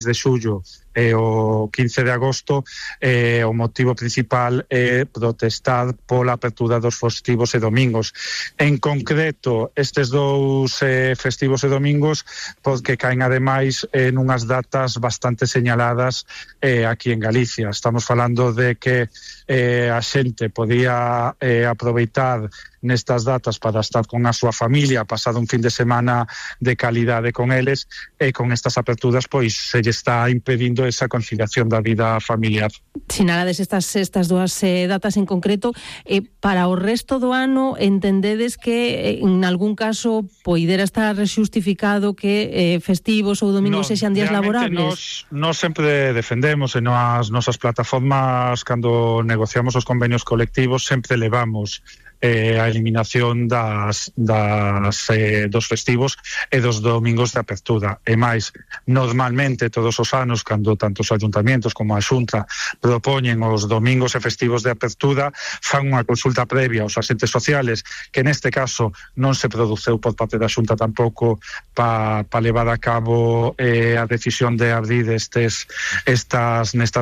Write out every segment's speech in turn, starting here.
de xullo e o 15 de agosto, o motivo principal é protestar pola apertura dos festivos e domingos. En concreto, estes dous festivos e domingos porque caen ademais en unhas datas bastante señaladas aquí en Galicia. Estamos falando de que a xente podía aproveitar nestas datas para estar con a súa familia, pasar un fin de semana de calidade con eles, e con estas aperturas pois se lle está impedindo esa conciliación da vida familiar. Sinalades estas dúas datas en concreto, para o resto do ano entendedes que en algún caso poidera estar xustificado que festivos ou domingos sexan días laborables? Nos sempre defendemos en as nosas plataformas, cando negociamos os convenios colectivos, sempre levamos a eliminación dos festivos e dos domingos de apertura. E máis, normalmente todos os anos, cando tanto os ayuntamientos como a Xunta propoñen os domingos e festivos de apertura, fan unha consulta previa aos agentes sociales, que neste caso non se produceu por parte da Xunta tampouco para levar a cabo a decisión de abrir nestas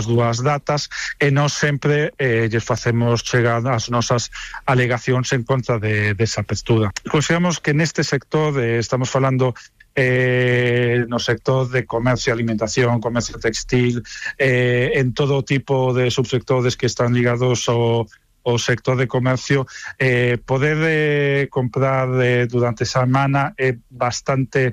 dúas datas, e nós sempre lles facemos chegar as nosas alegacións en contra desa apertura. Consideramos que neste sector estamos falando no sector de comercio e alimentación, comercio textil, en todo tipo de subsectores que están ligados ao sector de comercio, poder comprar durante a semana é bastante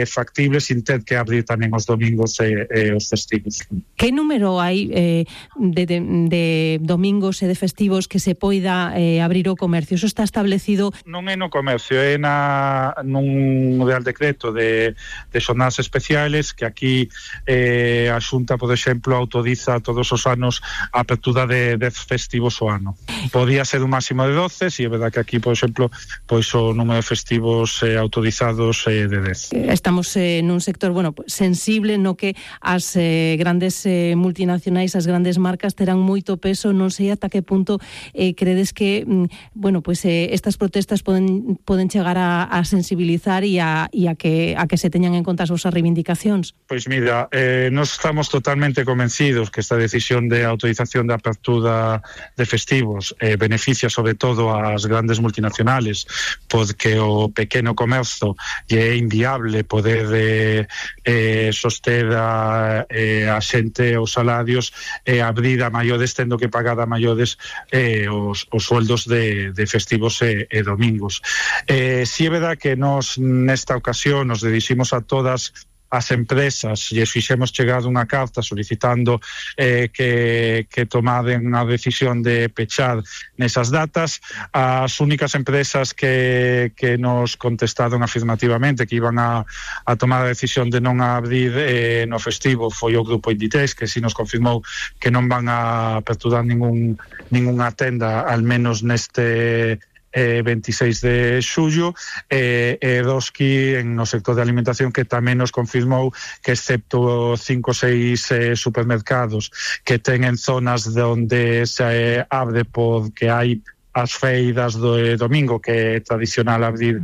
factible sin ter que abrir tamén os domingos e os festivos. Que número hai de domingos e de festivos que se poida abrir o comercio? Eso está establecido? Non é no comercio, é nun Real Decreto de xornadas especiales, que aquí a Xunta, por exemplo, autoriza todos os anos a apertura de 10 festivos ao ano. Podía ser un máximo de 12, e é verdad que aquí, por exemplo, pois o número de festivos autorizados é de 10. Estamos nun sector, sensible, no que as grandes multinacionais, as grandes marcas terán moito peso. Non sei ata que punto credes que, estas protestas poden chegar a sensibilizar e a que se teñan en conta as vosas reivindicacións. Pois mira, nós estamos totalmente convencidos que esta decisión de autorización de apertura de festivos beneficia sobre todo ás grandes multinacionales, porque o pequeno comercio é inviable poder soster a xente os salarios e abrir a maiores, tendo que pagar a maiores os sueldos de festivos e domingos. Si é verdad que nós nesta ocasión nos diriximos a todas as empresas e fixemos chegar unha carta solicitando que tomaden a decisión de pechar nesas datas. As únicas empresas que nos contestaron afirmativamente que iban a tomar a decisión de non abrir no festivo foi o grupo Inditex, que si nos confirmou que non van a aperturar ningunha tenda, al menos neste 26 de xullo, e Eroski no sector de alimentación, que tamén nos confirmou que excepto 5 ou 6 supermercados que ten zonas onde se abre porque hai as feiras do domingo, que é tradicional abrir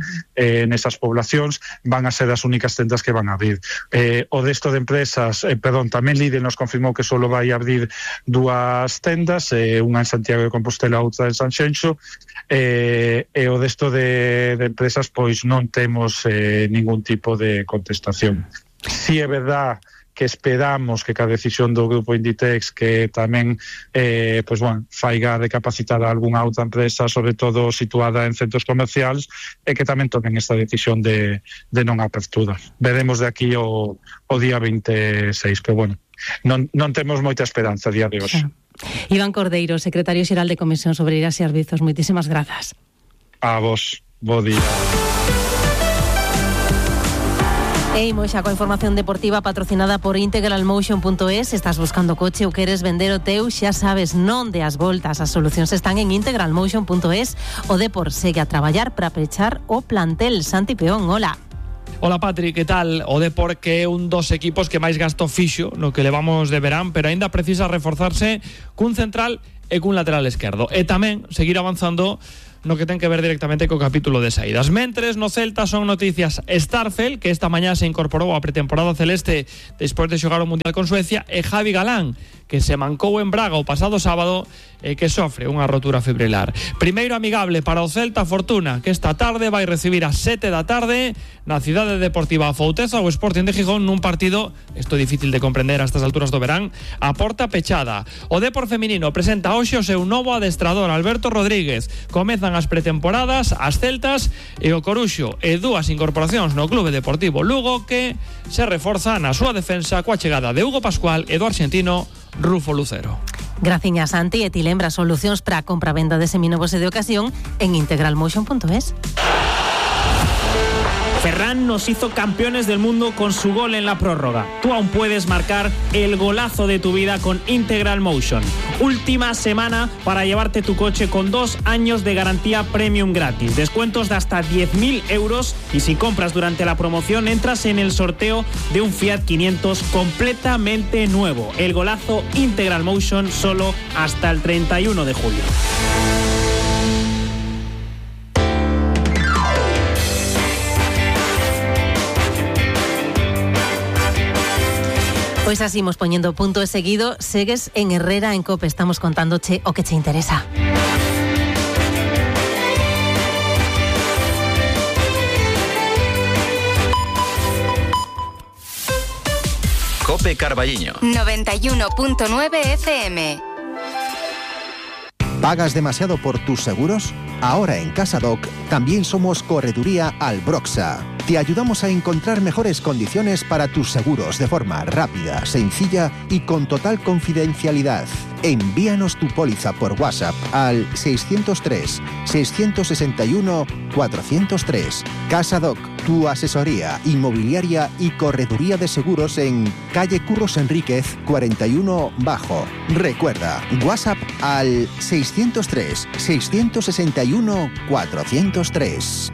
nesas poblacións, van a ser as únicas tendas que van a abrir. O resto de empresas, tamén Lidl nos confirmou que só vai abrir 2 tendas, unha en Santiago de Compostela, outra en Sanxenxo, e o resto de empresas pois non temos ningún tipo de contestación. Si é verdad que esperamos que a decisión do grupo Inditex que tamén faiga recapacitar a algunha outra empresa, sobre todo situada en centros comerciais, e que tamén tomen esta decisión de non apertura. Veremos de aquí o día 26, pero non temos moita esperanza a día de hoxe. Iván Cordeiro, secretario xeral de Comisións Obreiras e Arbizos, moitísimas grazas. A vos, bo día. E imos xa coa información deportiva patrocinada por integralmotion.es. Estás buscando coche ou queres vender o teu, xa sabes, non de as voltas. As solucións están en integralmotion.es. O Depor segue a traballar para pechar o plantel. Santi Peón, hola. Hola Patri, que tal? O Depor, que é un dos equipos que máis gasto fixo no que levamos de verán, pero aínda precisa reforzarse cun central e cun lateral esquerdo. E tamén seguir avanzando no que ten que ver directamente co capítulo de saídas. Mentres, no Celta son noticias Starfel, que esta mañá se incorporou á pretemporada celeste despois de xogar o Mundial con Suecia, e Javi Galán, que se mancou en Braga o pasado sábado e que sofre unha rotura fibrilar. Primeiro amigable para o Celta Fortuna, que esta tarde vai recibir ás 7 da tarde na Cidade Deportiva Fouteza o Sporting de Gijón nun partido, isto é difícil de comprender a estas alturas do verán, a porta pechada. O Depor feminino presenta hoxe o seu novo adestrador, Alberto Rodríguez. Comezan as pretemporadas, as celtas e o Coruxo, e dúas incorporacións no Clube Deportivo Lugo que se reforza na súa defensa coa chegada de Hugo Pascual e do arxentino Rufo Lucero. Graciñas, Santi, e ti lembra solucións para a compra-venda de seminovos e de ocasión en integralmotion.es. Ferran nos hizo campeones del mundo con su gol en la prórroga. Tú aún puedes marcar el golazo de tu vida con Integral Motion. Última semana para llevarte tu coche con 2 años de garantía premium gratis. Descuentos de hasta 10.000 euros y si compras durante la promoción entras en el sorteo de un Fiat 500 completamente nuevo. El golazo Integral Motion solo hasta el 31 de julio. Pois así imos poñendo punto e seguido. Segues en Herrera en COPE. Estamos contándoche o que che interesa. COPE Carballiño 91.9 FM. ¿Pagas demasiado por tus seguros? Ahora en CasaDoc también somos Correduría Albroxa. Te ayudamos a encontrar mejores condiciones para tus seguros de forma rápida, sencilla y con total confidencialidad. Envíanos tu póliza por WhatsApp al 603-661-403. CasaDoc, tu asesoría inmobiliaria y correduría de seguros en calle Curros Enríquez 41 Bajo. Recuerda, WhatsApp al 603-661-403.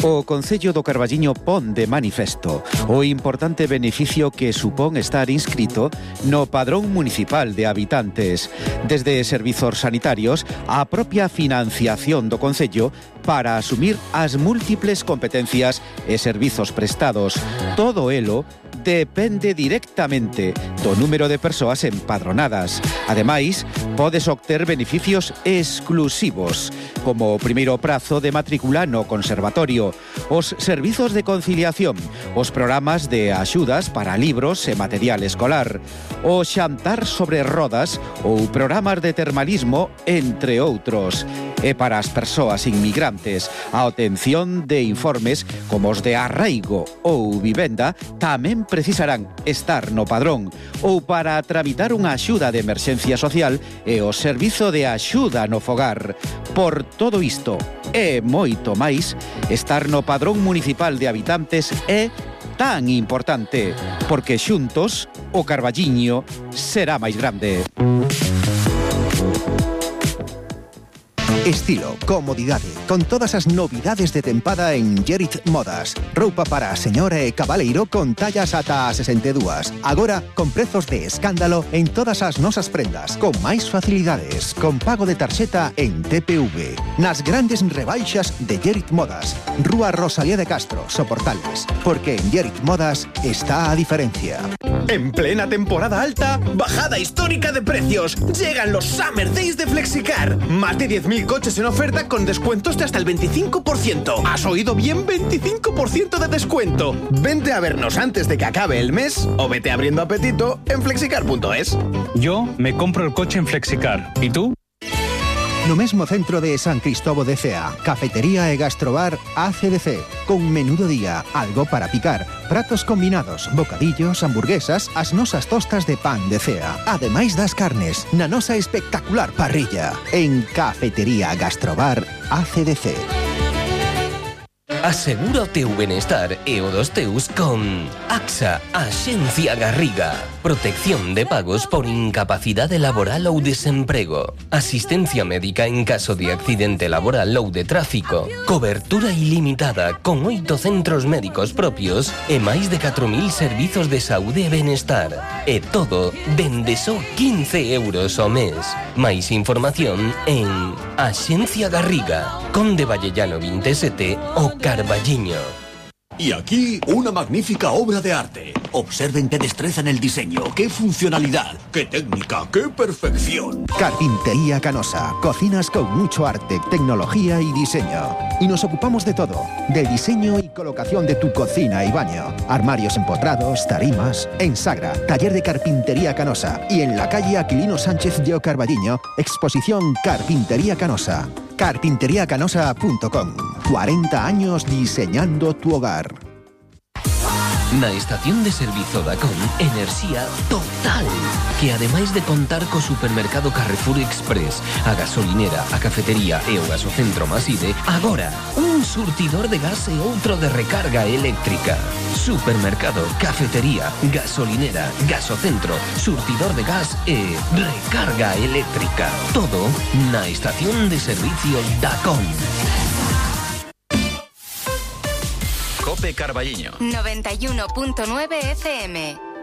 O Concello do Carballiño pon de manifesto o importante beneficio que supón estar inscrito no Padrón Municipal de Habitantes, desde servizos sanitarios á propia financiación do Concello para asumir as múltiples competencias e servizos prestados. Todo elo depende directamente do número de persoas empadronadas. Ademais, podes obter beneficios exclusivos, como o primeiro prazo de matrícula no conservatorio, os servizos de conciliación, os programas de axudas para libros e material escolar, o xantar sobre rodas ou programas de termalismo, entre outros. E para as persoas inmigrantes, a obtención de informes como os de arraigo ou vivenda tamén precisarán estar no padrón, ou para tramitar unha axuda de emerxencia social e o servizo de axuda no fogar. Por todo isto e moito máis, estar no Padrón Municipal de Habitantes é tan importante, porque xuntos o Carballiño será máis grande. Estilo, comodidade, con todas as novidades de tempada en Gerit Modas. Roupa para a señora e cabaleiro con tallas ata a 62. Agora, con prezos de escándalo en todas as nosas prendas, con máis facilidades, con pago de tarxeta en TPV. Nas grandes rebaixas de Gerit Modas. Rúa Rosalía de Castro, Soportales. Porque en Gerit Modas está a diferencia. En plena temporada alta, bajada histórica de precios. Llegan los Summer Days de Flexicar. Más de 10.000 coches en oferta con descuentos de hasta el 25%. ¿Has oído bien? 25% de descuento. Vente a vernos antes de que acabe el mes o vete abriendo apetito en flexicar.es. Yo me compro el coche en Flexicar. ¿Y tú? No mesmo centro de San Cristóbal de Cea, cafetería e gastrobar ACDC, con menú do día, algo para picar, pratos combinados, bocadillos, hamburguesas, as nosas tostas de pan de Cea, ademais das carnes, na nosa espectacular parrilla, en Cafetería Gastrobar ACDC. Asegura o teu benestar e o dos teus con AXA, Axencia Garriga. Protección de pagos por incapacidade laboral ou desemprego. Asistencia médica en caso de accidente laboral ou de tráfico. Cobertura ilimitada con 8 centros médicos propios e máis de 4.000 servizos de saúde e benestar. E todo dende só 15 euros ao mes. Máis información en Axencia Garriga, Conde Vallellano 27 o Carballiño. Y aquí, una magnífica obra de arte. Observen qué destreza en el diseño, qué funcionalidad, qué técnica, qué perfección. Carpintería Canosa. Cocinas con mucho arte, tecnología y diseño. Y nos ocupamos de todo. Del diseño y colocación de tu cocina y baño. Armarios empotrados, tarimas. En Sagra, taller de Carpintería Canosa. Y en la calle Aquilino Sánchez de Carballiño, exposición Carpintería Canosa. Carpinteriacanosa.com. 40 años diseñando tu hogar. Na estación de servizo Dacon, enerxía total, que ademais de contar co supermercado Carrefour Express, a gasolinera, a cafetería e o gasocentro Maside, agora un surtidor de gas e outro de recarga eléctrica. Supermercado, cafetería, gasolinera, gasocentro, surtidor de gas e recarga eléctrica. Todo na estación de servicios Dacon. Cope Carballiño 91.9 FM.